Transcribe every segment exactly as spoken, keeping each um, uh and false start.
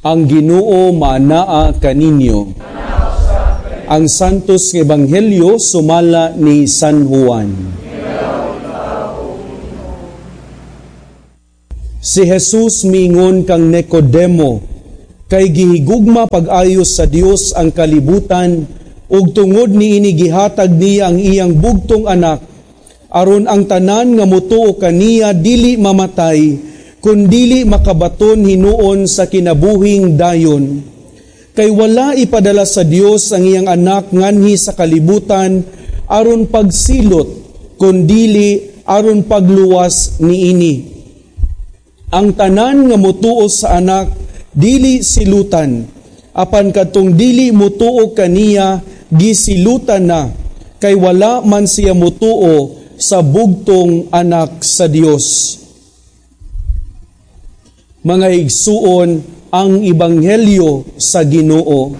Ang Ginoo maanaa kaninyo. Ang Santos nga Ebanghelyo sumala ni San Juan. Si Jesus miingon kang Nicodemo, kay gihigugma pag-ayo sa Dios ang kalibutan ug tungod niini gihatag niya ang iyang bugtong anak aron ang tanan nga motuo kaniya dili mamatay kundili makabaton hinuon sa kinabuhing dayon. Kay wala ipadala sa Dios ang iyang anak nganhi sa kalibutan aron pagsilot, kundili aron pagluwas niini. Ang tanan nga motuo sa anak dili silutan, apan kadtong dili motuo kaniya gisilutan na, kay wala man siya motuo sa bugtong anak sa Dios. Mga igsuon, ang Ebanghelyo sa Ginoo.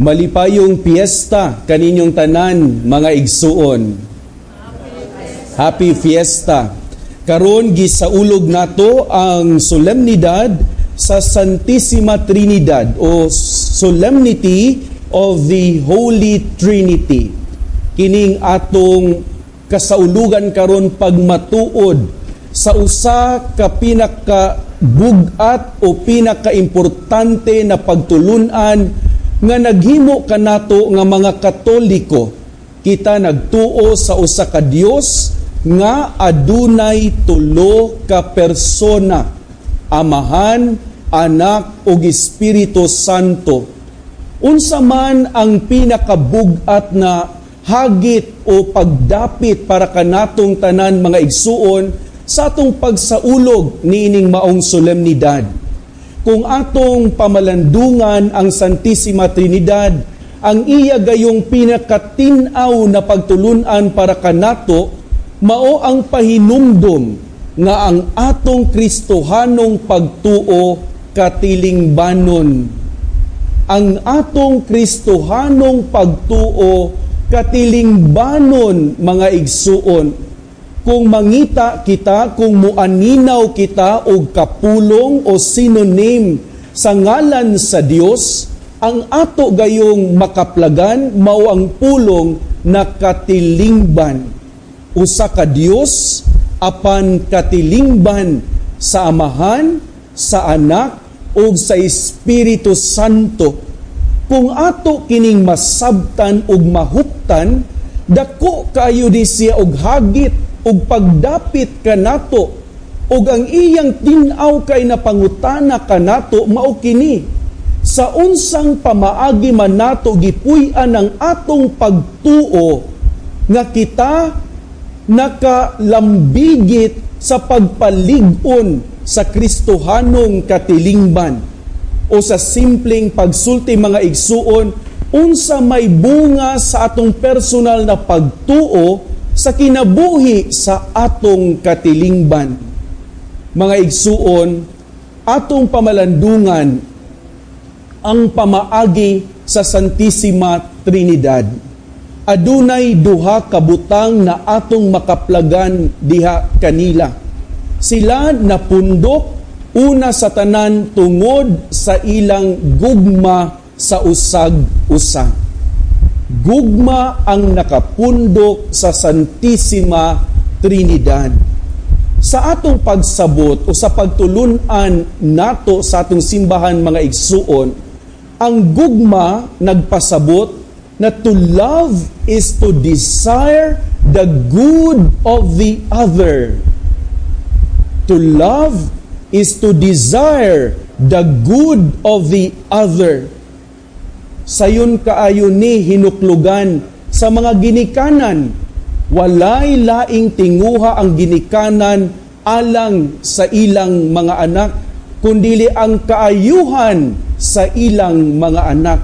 Malipayong piyesta kaninyong tanan, mga igsuon. Happy Fiesta. Karon gisaulog nato ang solemnidad sa Santissima Trinidad o Solemnity of the Holy Trinity. Kining atong kasaulugan karon pagmatuod sa usa ka pinakabug-at o pinakaimportante na pagtulun-an nga naghimo kanato nga mga Katoliko. Kita nagtuo sa usa ka Dios nga adunay tulo ka persona, Amahan, Anak ug Espiritu Santo. Unsa man ang pinakabug-at na hagit o pagdapit para kanatong tanan, mga igsuon, sa atong pagsaulog niining maong solemnidad? Kung atong pamalandungan ang Santissima Trinidad, ang iya gayong pinakatin-aw na pagtulun-an para kanato mao ang pahinumdom nga ang atong Kristohanong pagtuo katilingbanon. Ang atong Kristohanong pagtuo katilingbanon, mga igsuon. Kung mangita kita, kung muaninaw kita og kapulong o synonym sa ngalan sa Dios, ang ato gayong makaplagan mao ang pulong na katilingban. Usa ka Dios apan katilingban sa Amahan, sa Anak ug sa Espiritu Santo. Kung ato kining masabtan ug mahuptan, dako kaayo di siya og hagit ug pagdapit kanato, ug ang iyang tin-aw kay napangutana kanato mao kini: sa unsang pamaagi man nato gipuy-an ang atong pagtuo nga kita nakalambigit sa pagpalig-on sa Kristohanong katilingban? O sa simpleng pagsulti, mga igsuon, unsa may bunga sa atong personal na pagtuo sa kinabuhi sa atong katilingban? Mga igsuon, atong pamalandungan ang pamaagi sa Santissima Trinidad. Adunay duha ka butang na atong makaplagan diha kanila. Sila napundok una sa tanan tungod sa ilang gugma sa usag-usa. Gugma ang nakapundok sa Santissima Trinidad. Sa atong pagsabot o sa pagtulun-an nato sa atong simbahan, mga igsuon, ang gugma nagpasabot na to love is to desire the good of the other. To love is to desire the good of the other. Sayon kaayo ni hinuklugan sa mga ginikanan. Walay laing tinguha ang ginikanan alang sa ilang mga anak, kundili ang kaayuhan sa ilang mga anak.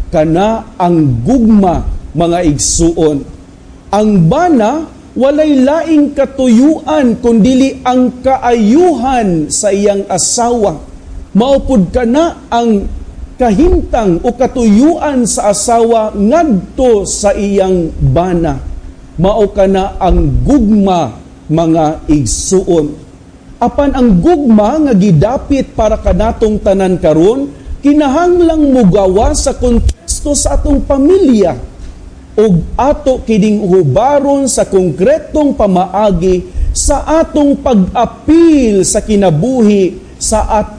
Kana ang gugma, mga igsuon. Ang bana walay laing katuyuan kundili ang kaayuhan sa iyang asawa. Maupod kana ang kahimtang o katuyuan sa asawa ngadto sa iyang bana. Mao kana ang gugma, mga igsuon. Apan ang gugma nga gidapit para kanatong tanan karon kinahanglang mugawa sa konteksto sa atong pamilya ug ato kining hubaron sa konkretong pamaagi sa atong pag-apil sa kinabuhi sa atong